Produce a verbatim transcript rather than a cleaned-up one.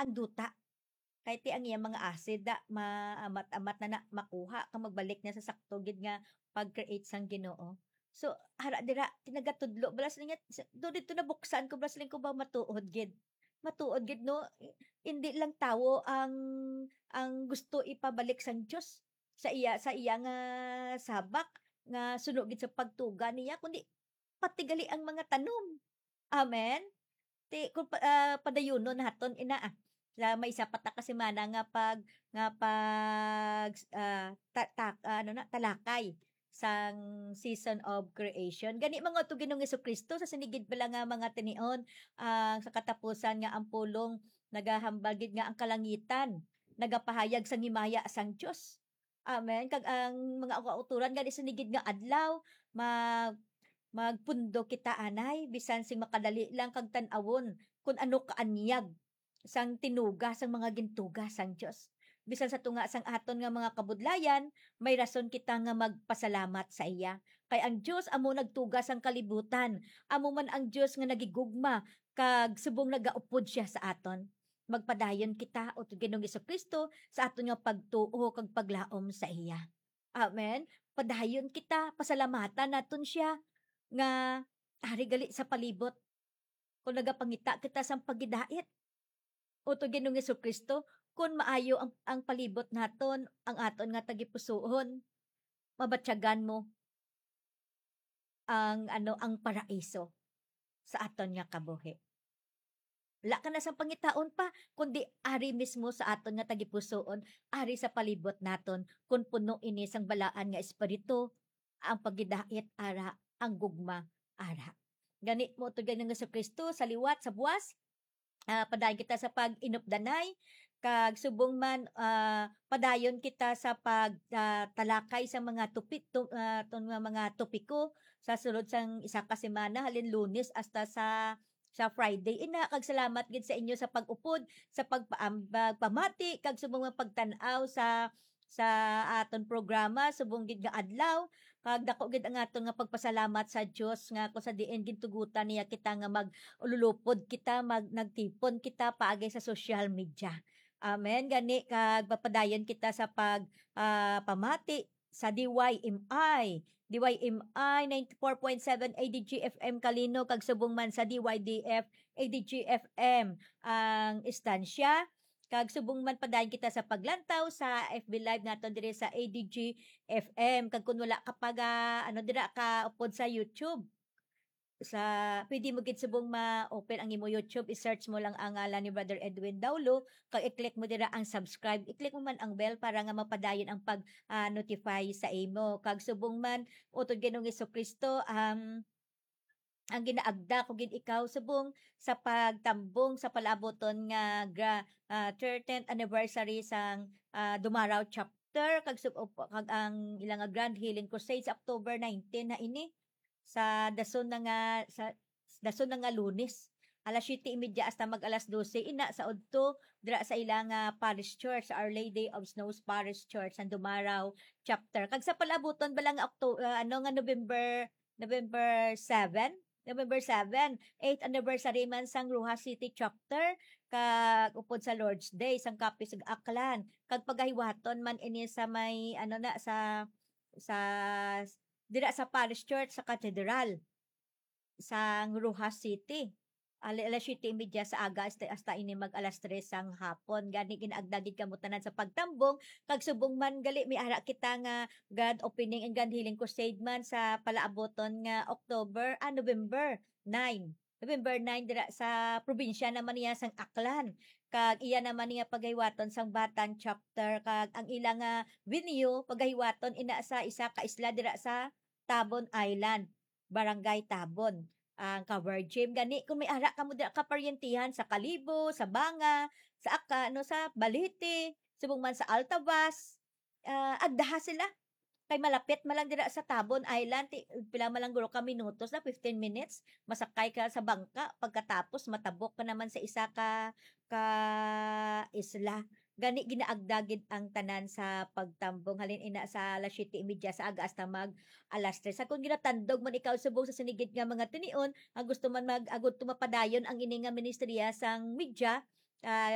ang duta. Kay ti ang iyang mga acid da, maamat-amat na na makuha kag magbalik na sa sakto gid nga pag-create sang Ginoo. So, ara dira, ti nagatudlo, bala siling niya, sa, do didto nabuksan ko, bala siling ko ba matuod gid. Matuod gid, no? I-, indi lang tawo ang, ang gusto ipabalik sang Dios sa iya, sa iya nga sabak nga suno gid sa pagtuga niya, kundi pati gali ang mga tanom. Amen? Ti, kung pa, ah, padayunon naton ina, ah. Sa may isa pa ta ka semana nga pag, nga pag, ah, ta-, ta-, ano na, talakay sang season of creation. Gani, mga utod Ginoong Jesu-Cristo, sa sini gid bala nga mga tinion, ah, sa katapusan nga ang pulong nagahambal gid nga ang kalangitan nagapahayag sang himaya sang Dios. Amen. Kag ang mga kauturan gani sini gid nga adlaw, mag-, magpundo kita anay, bisan sing makadali lang kag tan-awon kun ano kaanyag sang tinuga sang mga gintuga sang Dios. Bisan sa tunga sang aton nga mga kabudlayan, may rason kita nga magpasalamat sa iya. Kay ang Dios amo nagtuga sang kalibutan, amo man ang Dios nga nagigugma, kag subong nagaupod sia sa aton. Magpadayon kita, utod Ginoong Jesu-Cristo, sa aton nga pagtuo kag paglaom sa iya. Amen. Padayon kita, pasalamatan naton sia nga ari gali sa palibot. Kung nagapangita kita sang pagidait, utod Ginoong Jesu-Cristo, kung maayo ang, ang palibot naton, ang aton nga tagipusoon, mabatyagan mo ang, ano, ang paraiso sa aton nga kabuhi. Wala ka na sang pangitaon pa, kundi ari mismo sa aton nga tagipusoon, ari sa palibot naton, kun puno ini sang balaan nga espiritu, ang pagidait ara, ang gugma ara. Gani mo to gani nga Jesu-Cristo sa liwat, sa buwas, ah, padayon kita sa pag-inupdanay, kag subong man, ah, padayon kita sa pag, ah, talakay sa mga tupi-, tu-, ah, tun-, nga mga topiko sa sulod sang isa ka semana, halin Lunes hasta sa, sa Friday. Ina, kag salamat gid sa inyo sa pag-upod, sa pagpaambag, pamati, kag subong man pagtan-aw sa, sa aton programa, subong gid nga adlaw. Kag dako gid ang aton nga pagpasalamat sa Dios nga kung sa diin gintugutan niya kita nga mag-, ululupod kita, mag-, nagtipon kita paagi sa social media. Amen. Gani, kag papadayon kita sa pag, ah, pamati sa D Y M I. D Y M I ninety-four point seven A D G F M Kalino, kag subong man sa D Y D F A D G F M ang istansya. Kag subong man padayon kita sa paglantaw sa F B Live naton diri sa A D G F M. Kag kung wala ka pa ga-, ano, dira ka upod sa YouTube, sa, pwede mo gid subong ma-open ang imo YouTube, i-search mo lang ang ngalan ni Brother Edwin Daulo, kag i-click mo dira ang subscribe, i-click mo man ang bell para nga mapadayon ang pag, ah, notify sa imo. Kag subong man, utod Ginoong Jesu-Cristo, um, ang ginaagda ko gid ikaw subong sa pagtambong sa palaabuton nga gra-, ah, thirteenth anniversary sang, ah, Dumaraw Chapter, kag sub-, kag ang ila nga Grand Healing Crusade sa October nineteen na ini, sa dason na nga, sa dason na nga Lunes, alas siyete y media hasta mag alas dose, ina sa udto dira sa ila nga parish church, sa Our Lady of Snows Parish Church, sang Dumaraw Chapter. Kag sa palaabuton bala nga Octo-, ah, ano nga November, November seven, November seven, eighth anniversary man sang Roxas City Chapter, kag upod sa Lord's Day sang Capiz ug Aklan, kag pagahiwaton man ini sa may, ano na, sa, sa, dira sa Parish Church sa Cathedral sang Roxas City. Ali-, alas siyete y media sa aga hasta, hasta ini mag alas tres sang hapon. Gani, ginaagda gid kamo tanan sa pagtambong, kag subong man gali, may ara kita nga grand opening and grand healing crusade man sa palaabuton nga October, ah, November nine. November nine dira sa probinsya naman niya sang Aklan. Kag iya naman niya pagahiwaton sang Batan Chapter, kag ang ila nga venue pagahiwaton ina sa isa ka isla dira sa Tabon Island, Barangay Tabon, ang Cover Gym. Gani, kung may ara kamo dira ka paryentihan sa Kalibo, sa Banga, sa Aka-, ano, sa Balete, subong man sa Altavas, ah, agdaha sila. Kay malapit man lang dira sa Tabon Island, ti-, pila man lang guro ka minutos na, fifteen minutes, masakay ka sa bangka, pagkatapos matabok ka naman sa isa ka, ka isla. Gani, ginaagda gid ang tanan sa pagtambong. Halin ina sa alas siyete y media sa aga hasta mag alas tres. Sa kung ginatandog man ikaw subong sa sini gid nga mga tinion, ang gusto man mag-, agud to mapadayon ang ini nga ministriya sang media, ah,